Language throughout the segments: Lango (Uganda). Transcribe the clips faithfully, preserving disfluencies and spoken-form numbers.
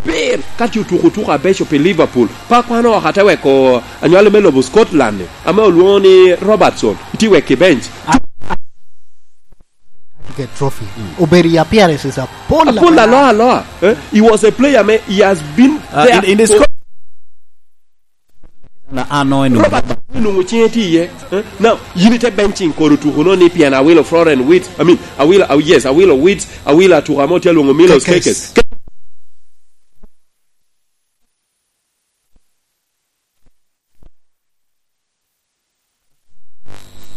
Pir, ka tye otuko otuko abeco pi Liverpool, pe akwano oko ate weko anywale me lobo Scotland-ni, ame olwoŋo ni Robertson, itye wek i bench. Get trophy. Obedo i appearances apol. Apol aloa, aloa. Eh? He was a player me, he has been Uh, there in, in the for squad. Na ano en Robert, inwoŋo ciŋe tye iye. Eh? Now, yin ite benching koro tuko no ni pien Awilo Florent Wirtz, I mean, Awilo, Aw-, yes, Awilo Wirtz, Awilo atuko ame otye alwoŋo Milos Kekes. Kekes.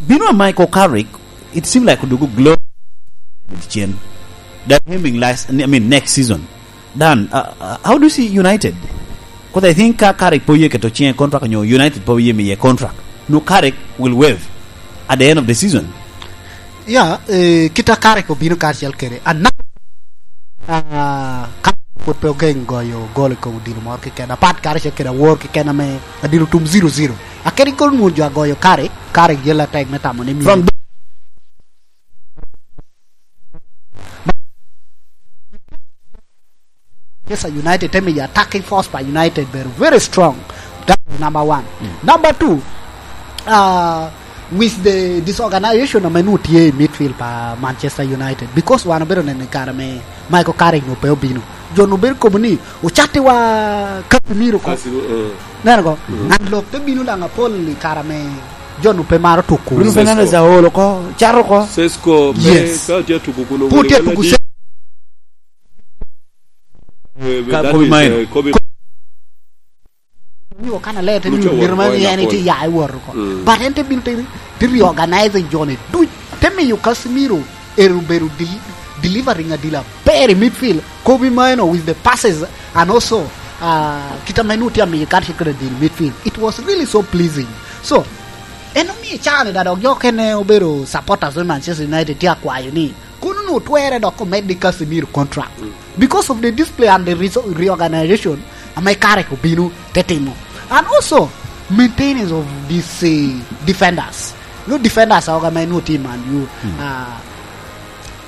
Bino a Michael Carrick, it seems like odugo glow cen. They're aiming last, I mean, next season. Dan, uh, uh, how do you see United? 'Cause I think ka Carrick po ye keto ciŋe contract nyo United po ye miye contract. No, Carrick will waive at the end of the season. Ya, eh, kit a Carrick obino karacel kede. Ana-, ah, Carrick pwod pe ogeŋ goyo gol i kom odilo moro keken. Apat karacel kede awor keken ame adilo tum zero zero. Akedi gol nwoŋo jo agoyo Carrick, Carrick yel atek me tamo ni From Manchester United te miyo attacking force pa United bedo very strong. That is number one. Mm. Number two, uh, with the disorganization ame nwoŋo tye i midfield pa Manchester United, because wan obedo neno i kare me Michael Carrick nwoŋo pe obino, jo nwoŋo bedo kobo ni, "Ocattiwa Casemiro ko." Casemiro, eh. Neno ko, mm, and lok te bino daŋ apol i kare ame jo nwoŋo pe maro tuko. Bruno Fernandes aol oko, cato oko. Sesko, pe, yes, ka otye atuko kuno, pwod tye atuko se- Eh, Ka that Kobe is, Mainoo. Eh, Kobe. Ni okana le te ni Lucho miro ma won ni en point tye apol. Ya i woro ko. Mm. But en te bino te, te reorganize jone duc. Te miyo Casemiro ero bedo del-, delivering adila ber i midfield. Kobe Mainoo with the passes and also, uh, kit ame nwoŋo tye amiyo karacel kede adil midfield. It was really so pleasing. So, en omiyo caa-ni da dok jo okene obedo supporters me Manchester United tye akwayo ni kono nwoŋo twerre dok omeddi Casemiro contract. Mm. Because of the display and the reso-, reorganization ame Carrick obino te timo. And also, maintenance of these, eh, defenders. No defenders aoga ma nwoŋo tye i Man U. Mm. Ah,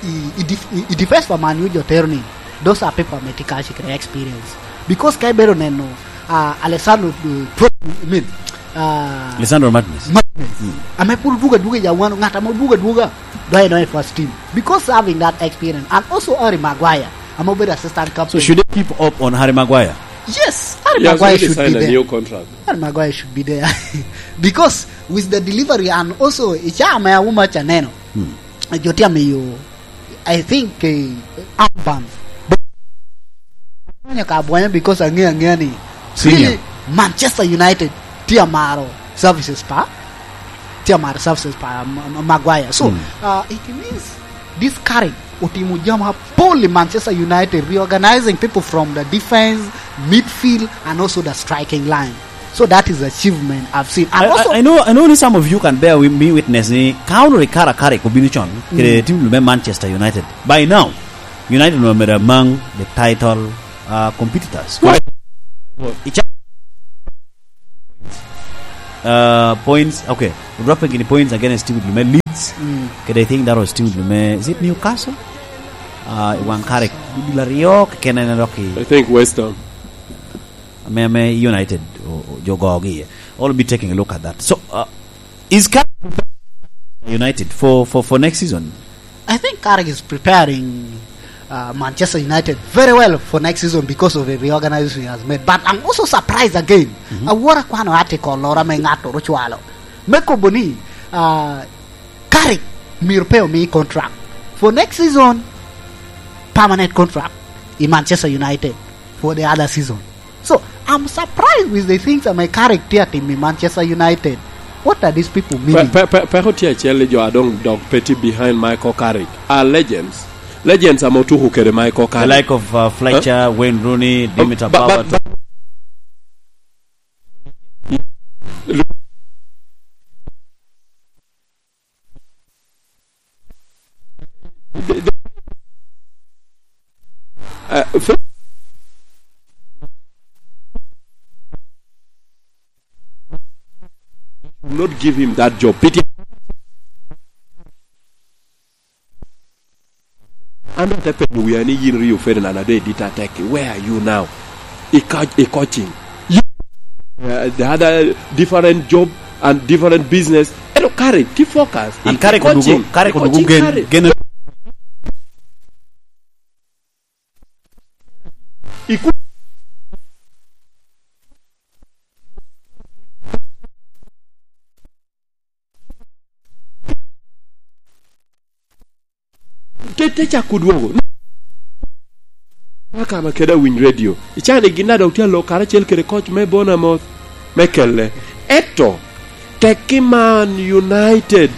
i, i def-, i, i defense pa Man U jo tero ni, those are people ame tye karacel kede experience. Because ka ibedo neno, ah, Alessandro, eh, Tro-, I mean, ah, Lisandro Martinez. Martinez. Mm. Ame pwod odwogo adwoga i awano, ŋat ame odwogo adwoga, doŋ en doŋ i first team. Because having that experience. And also Harry Maguire, ame obedo assistant captain. So should they keep up on Harry Maguire? Yes, Harry Maguire should be there. He has already signed a new contract. Harry Maguire should be there. Because with the delivery and also i caa ame awuma ca neno, hmm, jo tye amiyo, I think, eh, armbands. Bwanya ka bwanya because aŋeo aŋea ni senior, really, Manchester United tye amaro services pa, tye amaro services pa Ma-, Ma-, Maguire. So, hmm, uh, it means this Carrick otimo jami apol i Manchester United, reorganizing people from the defense, midfield, and also the striking line. So that is achievement I've seen. And I, also I, I know, I know ni some of you can bear with me witness ni ka onwoŋo Ricardo Carrick obino con, kede, mm, team me Manchester United. By now, United were among the title, uh, competitors. Why? Ica-, uh, points, okay. Dropping in points against team lume Leeds. Mm. Kede I think that was team lume, is it Newcastle? Uh, i waŋ Carrick, dul aryo keken en dok i I think West Ham. Ame, ame United, o-, o-, jo gogi iye. I'll be taking a look at that. So, uh, is Carrick preparing United for, for, for next season? I think Carrick is preparing, uh, Manchester United very well for next season because of the reorganization he has made. But I'm also surprised again. Mm-hmm. Awor akwano article loro ame ŋattoro ocwalo me kobo ni, uh, Carrick myero pe omi contract for next season, permanent contract i Manchester United for the other season. So, I'm surprised with the things ame Carrick tye atimo i Manchester United. What are these people meaning? Pe-, pe-, pe-, peko tye acel ni jo a doŋ dok pe tye behind Michael Carrick are legends. Legends ame otuko kede Michael Carrick. The like of, uh, Fletcher, huh? Wayne Rooney, Dimitar Berbatov. But, but, but, Uh, fir-, not give him that job. Pity. An ate penyo wia ni yin Rio Ferdinand ado Edita Teki, where are you now? i coach, i coaching. You, uh, the other different job and different business. Ento kare, ti focus. And kare kono coaching, kare kono gen, gen. Iku- Te, te cako dwogo. Aka ma kede awiny redio. Icani gin a dok tye alo karacel kede coach me Bournemouth me kelle. Eto, tekki Man United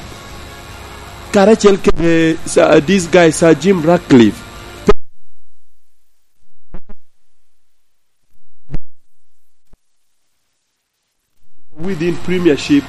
karacel kede Sir, this guy, Sir Jim Ratcliffe. Within Premiership,